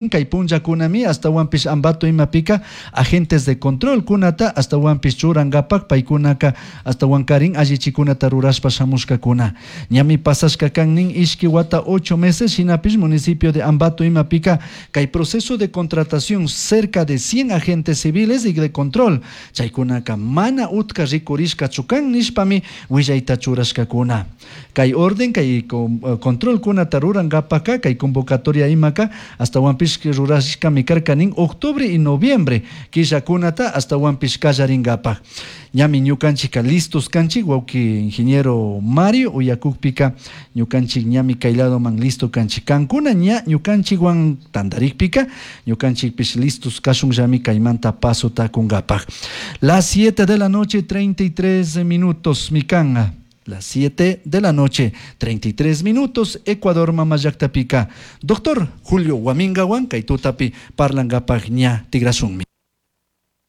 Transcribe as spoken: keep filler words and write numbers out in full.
Kay punllakunami ashtawanpish Ambato imapika agentes de control kunata ashtawanpish churankapak paykunaka ashtawankarin allichikunata rurashpa shamushkakuna. Ñami pasashka kan nin ishki wata ocho meses shinapish municipio de Ambato imapika kay proceso de contratación cerca de cien agentes civiles y de control chaykunaka mana utka rikurishkachu kan nishpami willayta churashkakuna. Kay orden kay controlkunata rurankapaka kay convocatoria imaka ashtawanpish rurashkami karka nin octubre y noviembre killakunata ashtawanpish kallarinkapak. Ñami ñukanchikka listos kanchik wawki ingeniero Mario uyakukpika ñukanchik ñami kay ladoman listo kanchik kankuna ña ñukanchikwan tantarikpika ñukanchikpish listos kashunllami kaymanta pasota kunkapak. Las siete de la noche treinta y tres minutos mi kan. Las siete de la noche, treinta y tres minutos, Ecuador mama llaktapica. Doctor Julio Guamingawan, kay tutapi parlangapak ña tigrashunmi.